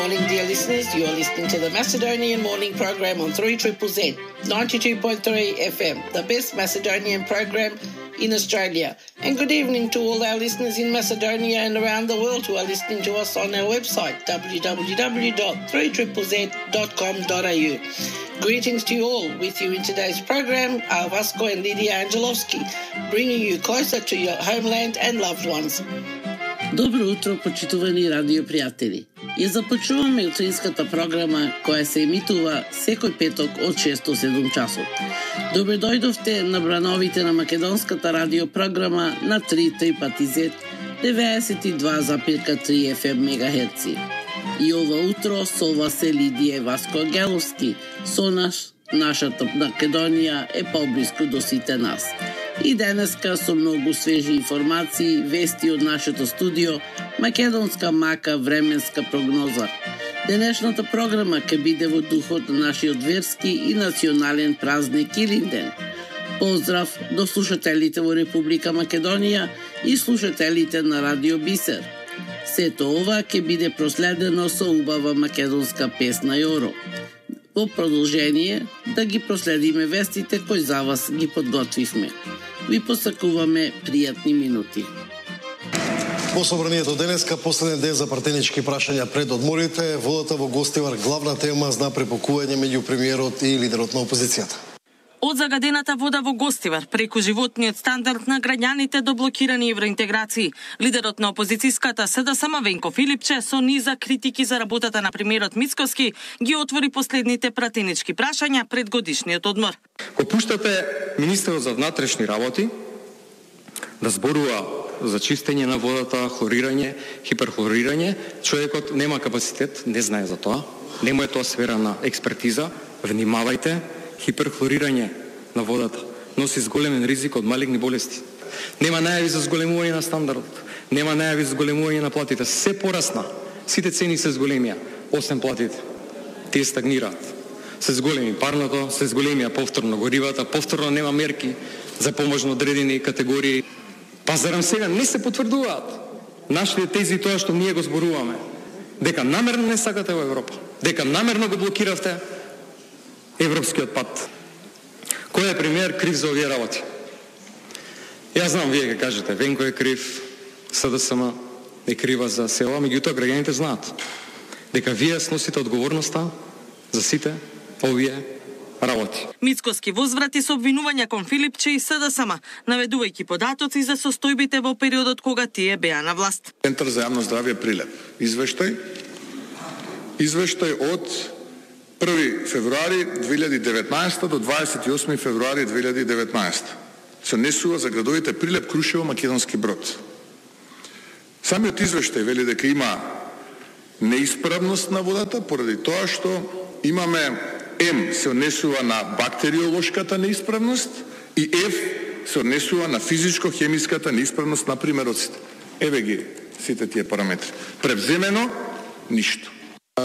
Morning, dear listeners. You are listening to the Macedonian Morning Program on 3ZZZ, 92.3 FM, the best Macedonian program in Australia. And good evening to all our listeners in Macedonia and around the world who are listening to us on our website, www.3ZZZ.com.au. Greetings to you all. With you in today's program are Vasco and Lydia Angelovski, bringing you closer to your homeland and loved ones. Добро утро, почитувани радио пријатели. Ја започнуваме утринската програма која се емитува секој петок од 6 до 7 часот. Добре дојдовте на брановите на македонската радио програма на 3ZZZ 92,3 FM мегахерци. И ова утро со вас е Лидија Васко Ангеловски, со нашата Македонија е поблиску до сите нас. И денеска со многу свежи информации, вести од нашето студио, македонска мака временска прогноза. Денешната програма ќе биде во духот на нашиот верски и национален празник Илинден. Поздрав до слушателите во Република Македонија и слушателите на Радио Бисер. Сето ова ќе биде проследено со убава македонска песна Јоро. Во продолжение да ги проследиме вестите кои за вас ги подготвивме. Ви посакуваме пријатни минути. Во собранието денеска, последен ден за партенички прашања пред одморите, водата во Гостивар главна тема зна препокување меѓу премиерот и лидерот на опозицијата. Од загадената вода во Гостивар, преку животниот стандард на граѓаните до блокирани евроинтеграции, лидерот на опозицијската СДСМ Венко Филипче со низа критики за работата на премиерот Мицкоски ги отвори последните пратенички прашања пред годишниот одмор. Го пуштате министерот за внатрешни работи да зборува за чистење на водата, хлорирање, хиперхлорирање, човекот нема капацитет, не знае за тоа, нема е тоа сфера на експертиза, внимавајте. Хиперхлорирање на водата носи зголемен ризик од малигни болести. Нема најави за зголемување на стандардот, нема најави за зголемување на платите. Се порасна, сите цени се зголемија, освен платите. Тие стагнираат. Се зголеми парното, се зголемија повторно горивата, повторно нема мерки за помош на одредени категории. Па зарем сега не се потврдуваат нашите тези тоа што ние го зборуваме, дека намерно не сакате во Европа, дека намерно го блокиравте европскиот пат. Кој е премиер крив за овие работи? Јас знам, вие ќе кажете, Венко е крив, СДСМ е крива за села, меѓутоа граѓаните знаат дека вие сносите одговорноста за сите овие работи. Мицкоски возврати со обвинувања кон Филипче и СДСМ, наведувајќи податоци за состојбите во периодот кога тие беа на власт. Центар за јавно здравје Прилеп. Извештај од 1 февруари 2019 до 28 февруари 2019 се однесува за градовите Прилеп, Крушево, Македонски Брод. Самиот извештај вели дека има неисправност на водата поради тоа што имаме М се однесува на бактериолошката неисправност и Ф се однесува на физичко-хемиската неисправност на примероците. Еве ги сите тие параметри. Превземено ништо.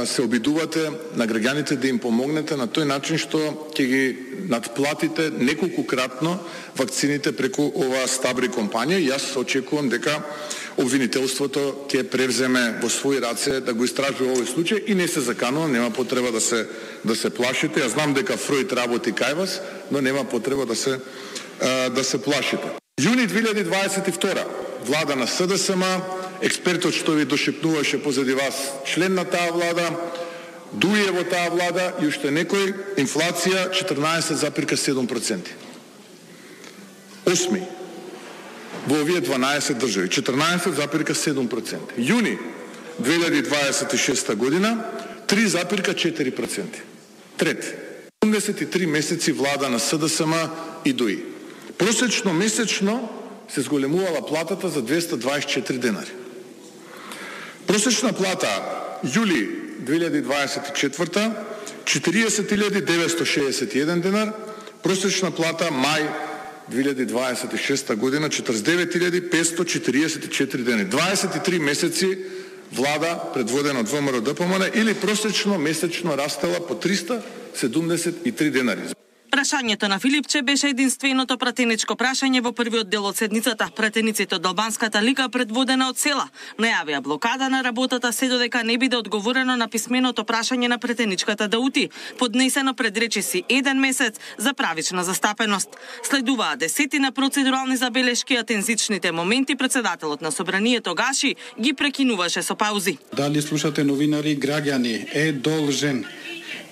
Се обидувате на граѓаните да им помогнете на тој начин што ќе ги надплатите неколкукратно вакцините преку оваа стабри компанија. Јас очекувам дека обвинителството ќе превземе во своји раце да го истражува овој случај и не се заканува, нема потреба да се плашите. Јас знам дека Фројд работи кај вас, но нема потреба да се плашите. Јуни 2022 влада на СДСМ, експертот што ви дошепнуваше позади вас, член на таа влада, дуе во таа влада и уште некој, инфлација 14,7%. Осми во овие 12 држави, 14,7%. Јуни 2026 година 3,4%. Трети, 73 месеци влада на СДСМ и ДУИ. Просечно месечно се зголемувала платата за 224 денари. Просечна плата јули 2024 40.961 денар, просечна плата мај 2026 година 49.544 денари. 23 месеци влада предводена од ВМРО-ДПМН или просечно месечно растела по 373 денари. Прашањето на Филипче беше единственото пратеничко прашање во првиот дел од седницата. Пратениците од Албанската лига, предводена од Села, најавија блокада на работата се додека не биде одговорено на писменото прашање на пратеничката Даути, поднесено пред речиси 1 месец за правична застапеност. Следуваа десетина процедурални забелешки, а тензичните моменти председателот на собранието Гаши ги прекинуваше со паузи. Дали слушате новинари, граѓани е должен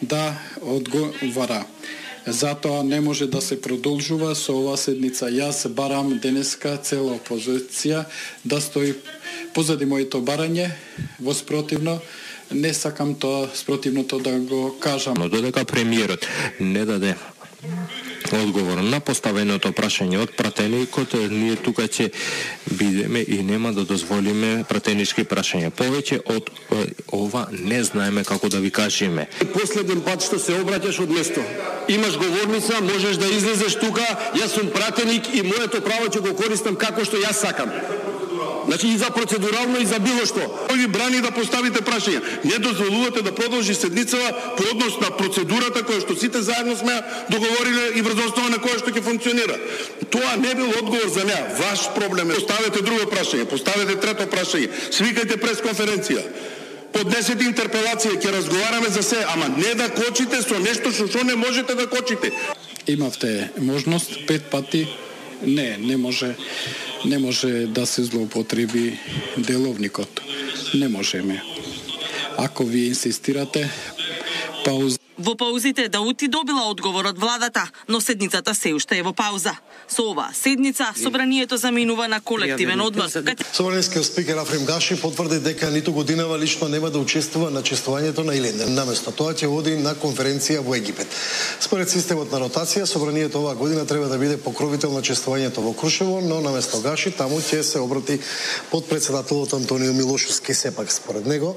да одговара. Затоа не може да се продолжува со оваа седница. Јас барам денеска цела опозиција да стои позади моето барање, во спротивно не сакам тоа спротивното да го кажам. Но додека премиерот не даде одговор на поставеното прашање од пратеникот, ние тука ќе бидеме и нема да дозволиме пратенички прашања. Повеќе од ова не знаеме како да ви кажеме. Последен пат што се обраќаш од место. Имаш говорница, можеш да излезеш тука, јас сум пратеник и моето право ќе го користам како што јас сакам. Значи и за процедурално и за било што. Кој ви брани да поставите прашања? Не дозволувате да продолжи седницава по однос на процедурата која што сите заедно сме договориле и врз основа на која што ќе функционира. Тоа не бил одговор за неа. Ваш проблем е. Поставете друго прашање, поставете трето прашање, свикајте пресконференција. Поднесете интерпелација, ќе разговараме за се, ама не да кочите со нешто што не можете да кочите. Имавте можност 5 пати. Не може да се злоупотреби деловникот. Не можеме. Ако ви инсистирате, пауза. Во паузите Даути добила одговор од владата, но седницата се уште е во пауза. Со оваа седница собранието заминува на колективен одмор. Собранискиот спикер Африм Гаши потврди дека ниту годинава лично нема да учествува на чествувањето на Илинден. Наместо тоа ќе оди на конференција во Египет. Според системот на ротација, собранието оваа година треба да биде покровител на чествувањето во Крушево, но наместо Гаши таму ќе се обрати подпредседателот Антонио Милошовски. Сепак според него,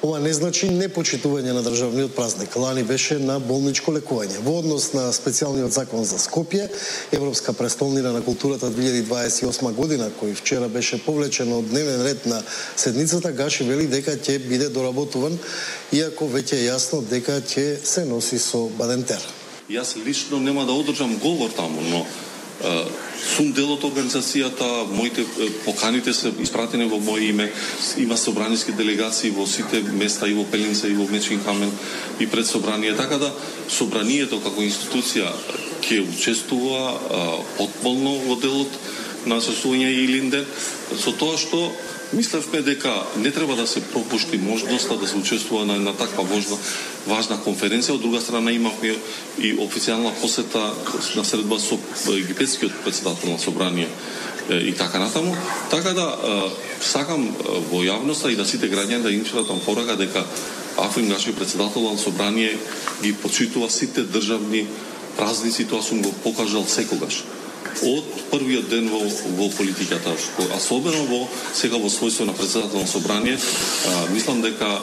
ова не значи непочитување на државниот празник. Лани беше на болничко лекување. Во однос на специјалниот закон за Скопје, Европска престолнина на културата 2028 година, кој вчера беше повлечен од дневен ред на седницата, Гаши вели дека ќе биде доработуван, иако веќе е јасно дека ќе се носи со Бадентер. Јас лично нема да одржам говор таму, но сум дел од организацијата, моите поканите се испратени во моје име, има собраниски делегации во сите места и во Пелинца и во Мечкин Камен и пред собрание, така да собранието како институција ќе учествува потполно во делот на сосување Илинден, со тоа што мислевме дека не треба да се пропушти можноста да се учествува на таква важна конференција. Од друга страна имавме и официјална посета на средба со египетскиот председател на собрание и така натаму. Така да сакам во јавноста и да сите граѓани да им читам порака дека Африм Гаши, председател на собрание, ги почитува сите државни празници, тоа сум го покажал секогаш. Од првиот ден во политиката, особено сега во својство на председател на собрание, мислам дека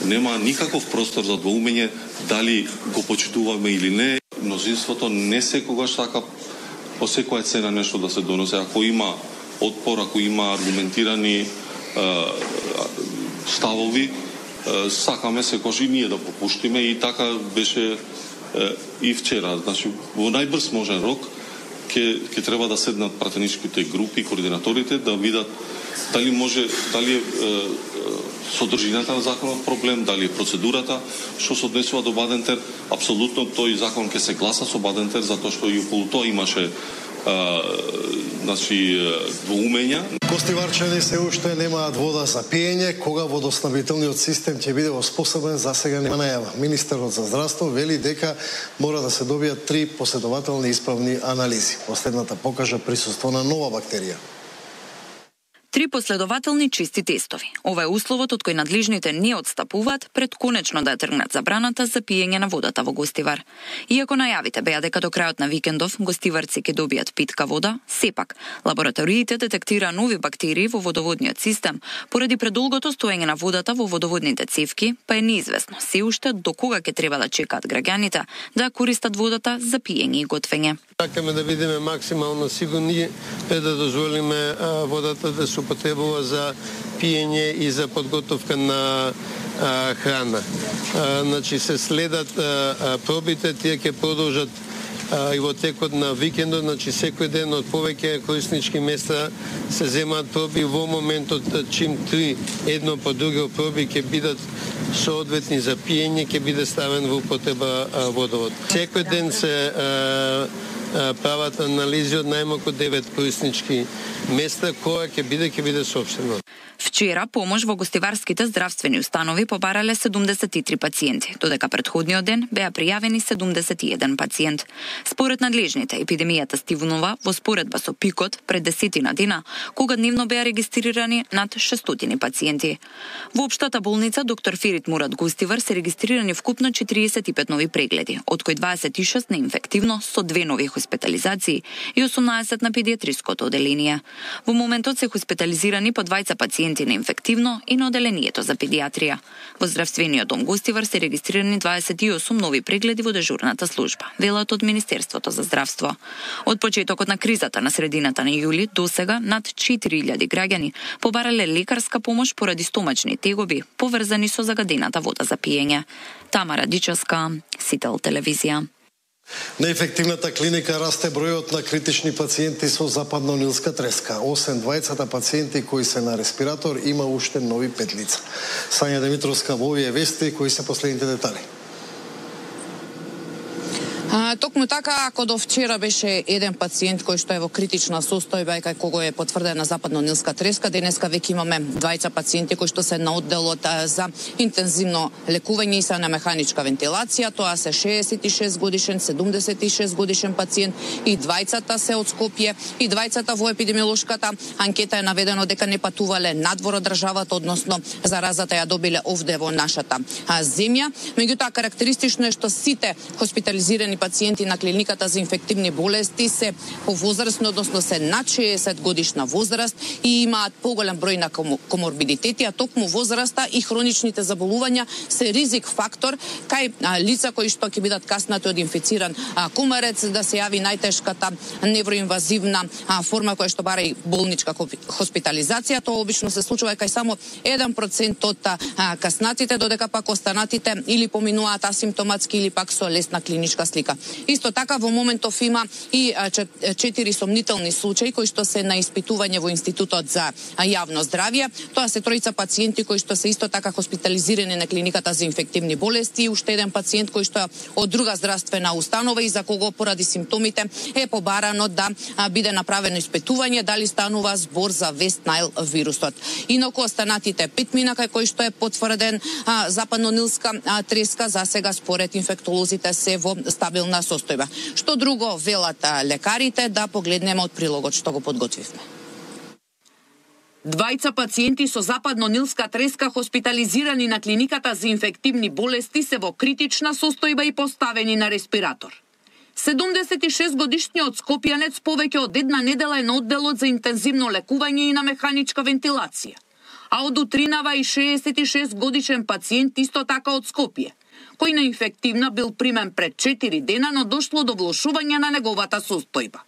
нема никаков простор за двоумење дали го почитуваме или не. Мнозинството не секогаш сака по секоја цена нешто да се доносе. Ако има отпор, ако има аргументирани ставови, сакаме секогаш и ние да попуштиме, и така беше и вчера. Значи, во најбрз можен рок ќе треба да седнат пратеничките групи, координаторите, да видат дали е содржината на законот проблем, дали е процедурата што се однесува до Бадентер. Апсолутно тој закон ќе се гласа со Бадентер, затоа што и околу тоа имаше двоумења. Гостиварчани се уште немаат вода за пиење. Кога водоснабдителниот систем ќе биде воспособен, засега нема најава. Министерот за здравство вели дека мора да се добијат 3 последователни исправни анализи. Последната покажа присуство на нова бактерија. 3 последователни чисти тестови. Ова е условот од кој надлежните не отстапуваат пред конечно да ја тргнат забраната за пиење на водата во Гостивар. Иако најавите беа дека до крајот на викендов гостиварци ќе добијат питка вода, сепак лабораториите детектира нови бактерии во водоводниот систем поради предолгото стоење на водата во водоводните цевки, па е неизвестно се уште до кога ќе треба да чекаат граѓаните да користат водата за пиење и готвење. Сакаме да бидеме максимално сигурни да дозволиме водата да се употребува за пиење и за подготовка на храна. Значи се следат пробите, тие ќе продолжат и во текот на викендот, значи секој ден од повеќе кориснички места се земаат проби. Во моментот чим 3 едно по друго проби ќе бидат соодветни за пиење, ќе биде ставен во употреба водовод. Секој ден се прават анализи од најмалку 9 кориснички места, која ќе биде соопштено. Вчера помош во гостиварските здравствени установи побарале 73 пациенти, додека претходниот ден беа пријавени 71 пациент. Според надлежните, епидемијата стивнува во споредба со пикот пред 10 дена, кога дневно беа регистрирани над 600 пациенти. Во општата болница доктор Ферит Мурат Гостивар се регистрирани вкупно 45 нови прегледи, од кои 26 на инфективно со 2 нови хоспитализации и 18 на педиатриското оделение. Во моментот се хоспитализирани по 20 пациенти на инфективно и на оделението за педиатрија. Во здравствениот дом Гостивар се регистрирани 28 нови прегледи во дежурната служба, велат од Министерството за здравство. Од почетокот на кризата на средината на јули до сега над 4000 граѓани побарале лекарска помош поради стомачни тегоби, поврзани со загадената вода за пиење. Тамара Дичевска, Сител телевизија. На ефективната клиника расте бројот на критични пациенти со западно-нилска треска. Освен двајцата пациенти кои се на респиратор, има уште нови 5 лица. Сања Димитровска во овие вести, кои се последните детали. Токму така, ако до вчера беше еден пациент кој што е во критична состојба и кај кого е потврдена западно-нилска треска, денеска веќе имаме двајца пациенти кои што се на одделот за интензивно лекување и се на механичка вентилација. Тоа се 66 годишен, 76 годишен пациент и двајцата се од Скопје и двајцата во епидемиолошката анкета е наведено дека не патувале надвор од државата, односно заразата ја добиле овде во нашата земја. Меѓутоа карактеристично е што сите хоспитализирани пациенти на клиниката за инфективни болести се повозрастни, односно се над 60 годишна возраст и имаат поголем број на коморбидитети, а токму возраста и хроничните заболувања се ризик фактор кај лица кои што ќе бидат каснати од инфициран кумарец, да се јави најтешката невроинвазивна форма која што бара и болничка хоспитализација. Тоа обично се случува кај само 1% од каснатите, додека пак останатите или поминуваат асимптоматски или пак со лесна клиничка слика. Исто така во моментов има и 4 сомнителни случаи кои што се на испитување во Институтот за јавно здравје. Тоа се 3 пациенти кои што се исто така хоспитализирани на клиниката за инфективни болести и уште еден пациент кој што е од друга здравствена установа и за кого поради симптомите е побарано да биде направено испитување дали станува збор за Вест Найл вирусот. Инаку останатите 5 мина кај кои што е потврден западно-нилска треска, за сега според инфектолозите се во стабилна состојба. Што друго велат лекарите, да погледнеме од прилогот што го подготвивме. Двајца пациенти со западно-нилска треска хоспитализирани на клиниката за инфективни болести се во критична состојба и поставени на респиратор. 76 годишниот скопјанец повеќе од една недела е на одделот за интензивно лекување и на механичка вентилација. А од утринава и 66 годишен пациент исто така од Скопје, кој на инфективна бил примен пред 4 дена, но дошло до влошување на неговата состојба.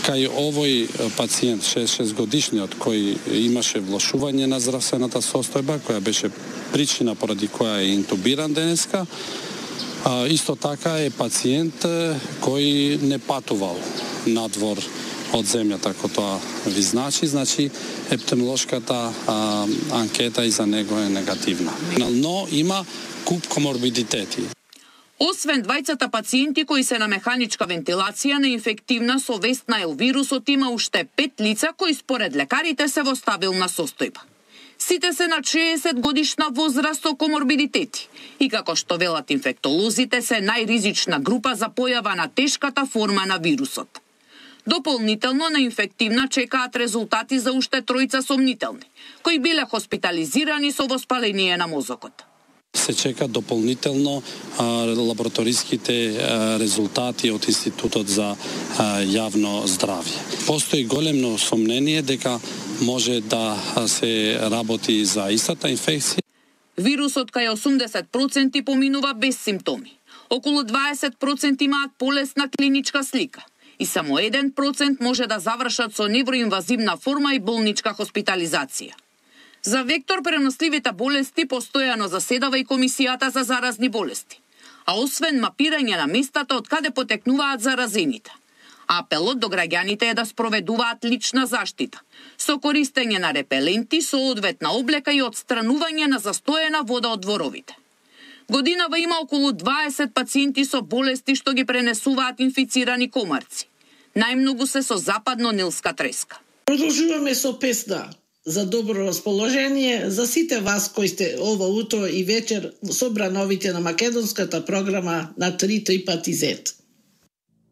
Кај овој пациент, 66 годишниот, кој имаше влошување на здравствената состојба, која беше причина поради која е интубиран денеска, исто така е пациент кој не патувал надвор од земјата, ако тоа ви значи епидемиолошката анкета и за него е негативна. Но има куп коморбидитети. Освен двајцата пациенти кои се на механичка вентилација на инфективна со Вест Найл вирусот, има уште 5 лица кои според лекарите се во стабилна состојба. Сите се на 60 годишна возраст со коморбидитети и како што велат инфектолозите се најризична група за појава на тешката форма на вирусот. Дополнително на инфективна чекаат резултати за уште 3 сомнителни, кои биле хоспитализирани со воспаление на мозокот. Се чека дополнително лабораториските резултати од Институтот за јавно здравје. Постои големно сомнение дека може да се работи за истата инфекција. Вирусот кај 80% поминува без симптоми. Околу 20% имаат полесна клиничка слика и само 1% може да завршат со невроинвазивна форма и болничка хоспитализација. За вектор преносливите болести постојано заседава и Комисијата за заразни болести, а освен мапирање на местата од каде потекнуваат заразените. Апелот до граѓаните е да спроведуваат лична заштита, со користење на репеленти, соодветна облека и отстранување на застоена вода од дворовите. Годинава има околу 20 пациенти со болести што ги пренесуваат инфицирани комарци. Најмногу се со западно-нилска треска. Продолжуваме со песна за добро расположение за сите вас кои сте ова утро и вечер со брановите на македонската програма на 3 пати Z.